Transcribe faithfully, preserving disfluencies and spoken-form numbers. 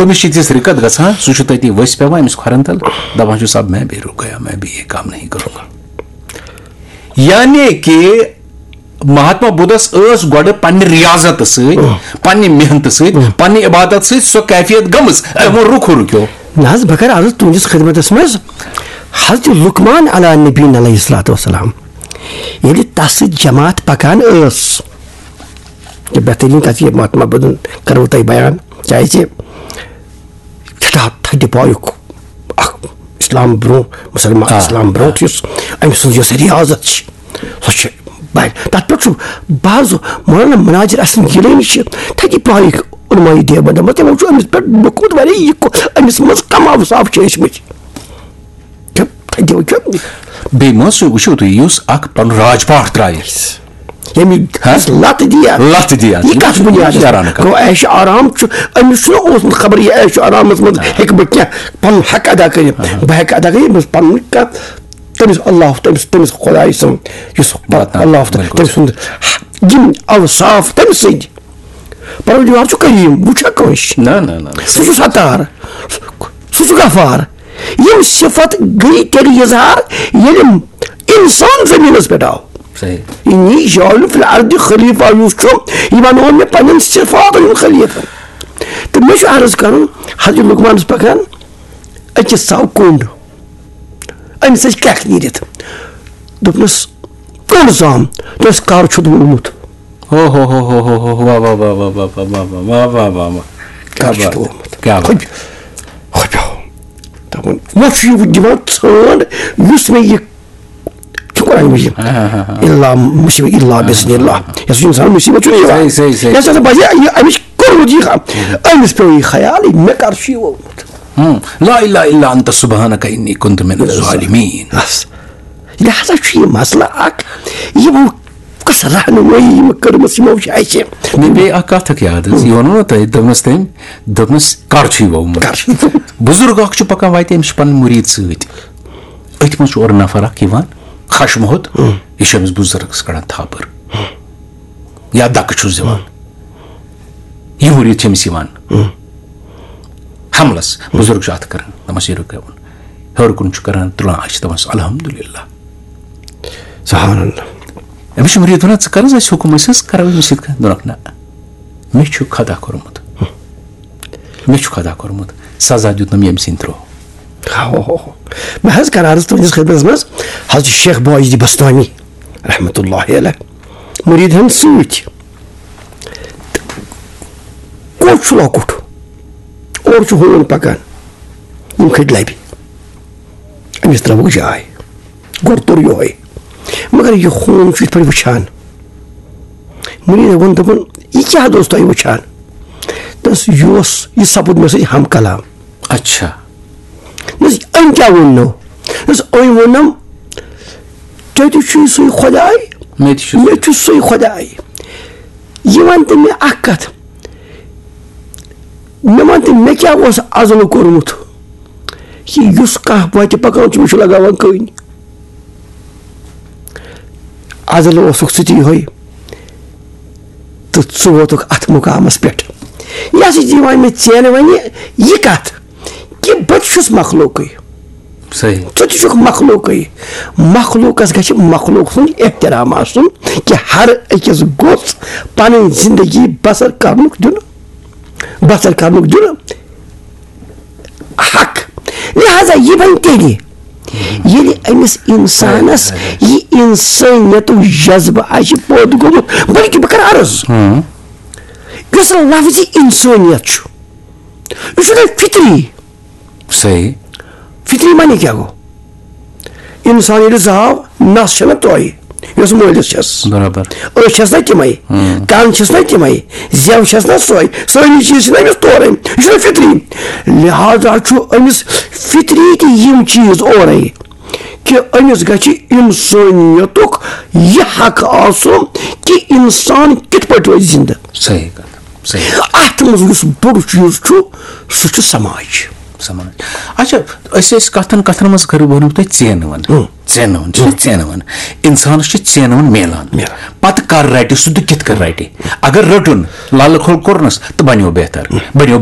أمِس چھِ تِژھ رِکت گژھان، سُہ چھُ تٔتی ؤسۍ پٮ۪وان أمِس کھۄرن تل، دپان چھُس، "اب میں بھی رک گیا، میں بھی یہ کام نہیں کروں گا۔" یعنی کہ مہاتما بدھس ٲس گۄڈٕ پننہِ ریاضت سۭتۍ، پننہِ محنتہٕ سۭتۍ، پننہِ عبادت سۭتۍ سۄ کیفیت گٔمٕژ، تِمو رُکو رُکیو۔ نہ حظ، بہٕ کرٕ عرض تُہنٛدِس خدمتس منٛز۔ حضرت لقمان علیٰ نبینا علیہ الصلوۃ والسلام، ییٚلہِ تس سۭتۍ جماعت پکان ٲس، تہٕ بہتریٖن کتھ یہِ مہاتما بدھن کرو تۄہہِ بیان، کیازِ سٮ۪ٹھاہ تھدِ پایُک اکھ اسلام برونٛہہ، مسلمان آ، اسلام برونٛہہ آ۔ یُس أمۍ سٕنٛز یۄس ریاضت چھِ، سۄ چھِ بڑِ۔ تتھ پٮ۪ٹھ چھُ بعض مولانا مناظر احسن گیلانی چھِ تھدِ پایِکۍ علماء دیوبند، مطلب، تِمو چھُ أمِس پٮ۪ٹھ لیوٚکھمُت واریاہ، یہِ کو-، أمِس منٛز کم اوصاف چھِ ٲسۍ مٕتۍ۔ تہٕ تھدِ وٕچھو۔ بیٚیہِ ما سُہ وٕچھِو تُہۍ، یُس اکھ پنُن راج پاٹھ ترٛایہِ۔ ییٚمہِ ہا؟ لَتہٕ دِیا۔ لَتہٕ دِیا۔ یہِ کَتھ بُنیادَس یارانہٕ پٮ۪ٹھ؟ کَتھ۔ گوٚو عیش آرام چھُ، أمِس چھُنہٕ اوسمُت خبر یہِ عیش آرامَس منٛز ہیٚکہٕ بہٕ کینٛہہ پَنُن حق ادا کٔرِتھ۔ بہٕ ہیٚکہٕ ادا کٔرِتھ، ییٚمِس پَنُن کانٛہہ تٔمِس اللہ، تٔمِس، تٔمِس خۄداے سُنٛد یُس پَتہٕ واتناو، اللہ تہٕ بِلکُل۔ تٔمۍ سُنٛد یِم اوصاف تٔمۍ سٕنٛدۍ۔ پروردگار چھُ کریم، وٕچھا کٲنٛسہِ؟ نہ، نہ، نہ، نہ۔ سُہ چھُ ستار، سُہ چھُ غفار۔ یِم صفت گٔے تیٚلہِ اظہار، ییٚلہِ انسان زٔمیٖنَس پٮ۪ٹھ آو۔ صحیح۔ انی جاعل فی الارض خلیفہ یُس چھُ، یہِ بنوو مےٚ پننٮ۪ن صفاتن ہُنٛد خلیفہ۔ تہٕ مےٚ چھُ عرض کرُن، حضرت لقمانس پکان أکِس ژاو کوٚنٛڈ، أمِس ٲسۍ کرٛٮ۪کھ نیٖرِتھ۔ دوٚپنَس، "کوٚنٛڈ زام، تۄہہِ کر چھُ ووٚنمُت؟" ہو، ہو، ہو، ہو، ہو، ہو، واہ، واہ، واہ۔ کر چھُ ووٚنمُت؟ کیٛاہ بات؟ ہۄپہِ-، ہۄپیو۔ دوٚپُن، وۄنۍ چھُ یہِ دِوان ژھانٛڈ، یُس مےٚ یہِ چھُ قرآن مجیٖد۔ ہاں، ہاں، ہاں، ہاں۔ الا مصیبت، الا بإذن اللہ۔ یۄس اِنسان مصیبت چھُنہٕ یِوان۔ صحیح، صحیح، صحیح۔ یۄس ہسا باسہِ، یہِ أمِس چھُ کوٚرمُت یہِ، أمِس پیوٚو یہِ خیال، مےٚ کر چھُ یہِ ووٚنمُت؟ ہم۔ لا الہ الا انت سبحانک انی کنت من الظالمین۔ بس۔ لہذا چھُ یہِ مسلہٕ اکھ، یِمو کۄس رہنمٲیی یِمو کٔرمٕژ یِمو چھِ اَسہِ۔ مےٚ پیٚیہِ اکھ کتھ اکھ یاد حظ، یہِ ووٚنوٕ نہ تۄہہِ، دوٚپنَس تٔمۍ، دوٚپنَس، "کر چھُے ووٚمُت؟" کر چھُے ووٚمُت؟ بُزرگ اکھ چھُ پکان وتہِ، أمِس چھِ پنٕنۍ مُریٖد سۭتۍ۔ أتھۍ منٛز چھُ اورٕ نفر اکھ یِوان، خشمہٕ ہوٚت، یہِ چھُ أمِس بُزرگس کڑان تھپھ۔ یا دَکہٕ چھُس دِوان۔ یہِ مُریٖد چھِ أمِس یِوان۔ حملس، بُزرگ چھُ اَتھٕ کران، دَپان، "یہِ رُکٲوُن۔" ہیوٚر کُن چھُ کران، تُلان اَتھٕ چھِ دَپان، "الحمدللہ۔" سبحان اللہ۔ أمِس چھُ مُریٖد وَنان، "ژٕ کر حظ اَسہِ حُکُم، أسۍ حظ کرو أمِس سۭتۍ کَتھ؟" دوٚپنَکھ، "نہ، مےٚ چھُ خۄدا کوٚرمُت۔ مےٚ چھُ خۄدا کوٚرمُت۔ سزا دیُتنَم ییٚمہِ سٕنٛدِ تھرٛوٗ۔" ہو، ہو، ہو۔ بہٕ حظ کرٕ عرض تُہٕنٛدِس خدمتس منٛز، حضرت شیخ باجدِ بستانی رحمتہ اللہ علیہ، مُریٖد ہن سۭتۍ۔ کوٚٹ چھُ لۄکُٹ، اورٕ چھُ ہوٗن پکان، یِم کھٔتۍ لبہِ۔ أمِس ترٲوٕکھ جاے، گۄڈٕ توٚر یِہوٚے، مگر یہِ ہوٗن چھُ یِتھ پٲٹھۍ وٕچھان۔ مُریٖدن ووٚن، دوٚپُن، "یہِ کیٛاہ اوس تۄہہِ وٕچھان؟" دوٚپنَس، "یہِ اوس، یہِ سپُد مےٚ سۭتۍ ہم کلام۔" اچھا۔ دوٚپنَس، "أمۍ کیٛاہ ووٚننو؟" دوٚپنَس، "أمۍ ووٚننم، تۄہہِ تہِ چھُے سُے خۄداے، مےٚ تہِ چھُ سُے۔ مےٚ چھُ سُے خۄداے۔ یہِ وَن تہٕ مےٚ اَکھ کَتھ، مےٚ وَن تہٕ مےٚ کیٛاہ اوس اَزلہٕ کوٚرمُت، یہِ یُس کانٛہہ وَتہِ پَکان چھُ، مےٚ چھُ لَگاوان کٔنۍ؟ اَزلہٕ اوسُکھ ژٕ تہِ یِہوٚے، تہٕ ژٕ ووتُکھ اَتھ مُقامَس پٮ۪ٹھ۔ یہِ ہسا چھِ یِوان مےٚ ژینہٕ وَنہِ یہِ کَتھ کہِ بہٕ تہِ چھُس مخلوقٕے۔" صحیح۔ ژٕ تہِ چھُکھ مخلوقٕے۔ مخلوقس گژھِ مخلوق سُنٛد احترام آسُن کہِ ہر أکِس گوٚژھ پنٕنۍ زندگی بسر کرنُک دیُن، بسر کرنُک دیُن حق۔ لہذا یہِ بنہِ تیٚلہِ، ییٚلہِ أمِس انسانس یہِ انسٲنیتُک جذبہٕ آسہِ پٲدٕ گوٚمُت، بلکہِ بہٕ کرٕ عرض، یُس لفظ انسٲنیت چھُ، یہِ چھُنہٕ فطری۔ صحیح۔ فطری معنی کیٛاہ گوٚو؟ اِنسان ییٚلہِ زاو، نَس چھےٚ نہ تۄہہِ، یۄس مٲلِس چھَس۔ برابر۔ أچھ چھَس نہ تِمَے، کَن چھَس نہ تِمَے، زٮ۪و چھَس نہ سۄے، سٲری چیٖز چھِ نہ أمِس تورَے۔ یہِ چھُنہ فطری۔ لہذا چھُ أمِس فطری تہِ یِم چیٖز اورَے کہِ أمِس گژھِ اِنسٲنیتُک یہِ حق آسُن کہِ اِنسان کِتھ پٲٹھۍ روزِ زِندٕ۔ صحیح کَتھ۔ صحیح۔ اَتھ منٛز یُس بوٚڑ چیٖز چھُ، سُہ چھُ سماج۔ سماج۔ اچھا، أسۍ ٲسۍ کتھن کتھن منٛز کٔرٕو، ووٚنوٕ تۄہہِ ژینوَن۔ ہُم۔ ژینوَن، چھِ ژینوَن۔ انسانس چھِ ژینوَن میلان۔ میلان۔ پتہٕ کر رٹہِ سُہ تہٕ کِتھ کٔنۍ رٹہِ؟ اگر رٔٹُن، لالہٕ کھول کوٚرنس تہٕ بنیو بہتر۔ بنیو